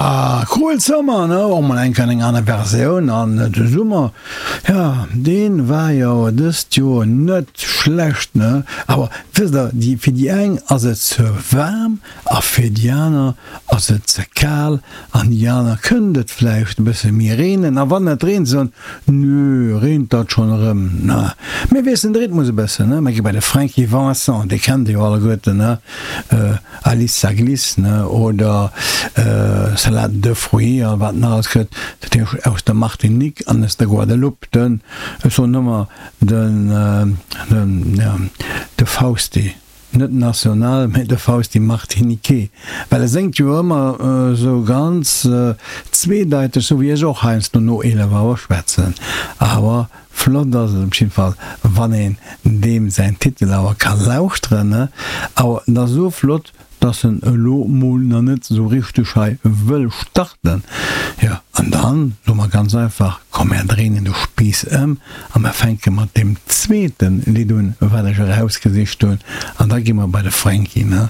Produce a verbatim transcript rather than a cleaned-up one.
Ah, Cruel Summer, ne? Och mol eng Kéier eng aner Versioun. An de Summer, ja, dee war jo dëst Joer net schlecht, ne? Awer wësst Der, déi, fir déi eng ass et ze waarm a fir déi aner ass et ze kal an déi aner kënnt et vläicht e bësse méi reenen. A wann et reent, soen, Nö, reent dat schonn erëm, ne? Mir wiesselen de Rhythmus e bëssen, ne? Mir gi bei de Francky Vincent, dee kennt Der jo alleguerten, ne? Alice ça glisse, ne, oder Salade de fruits a wat nach alles gëtt, dat heescht aus der Martinique an aus der Guadeloupe, den, ech soen ëmmer den, den, ja, de Fausti, net national, mä de Fausti Martiniquais, well e séngt jo ëmmer esou ganz zweedeiteg, sou wéi ech och heiansdo no eelef Auer schwätzen, awer flott ass et op jidde Fall, wann een deem säin Titel awer ka lauschteren, ne? Awer et ass esou flott, dass en elo mol nach net esou richteg hei wëll starten. Jo, an dann soe mer ganz einfach, komm mär dréinen de Spiiss ëm a mer fänke mat deem zweete Lidd un, wat ech erausgesicht hunn, an da gi mer bei de Franky, ne?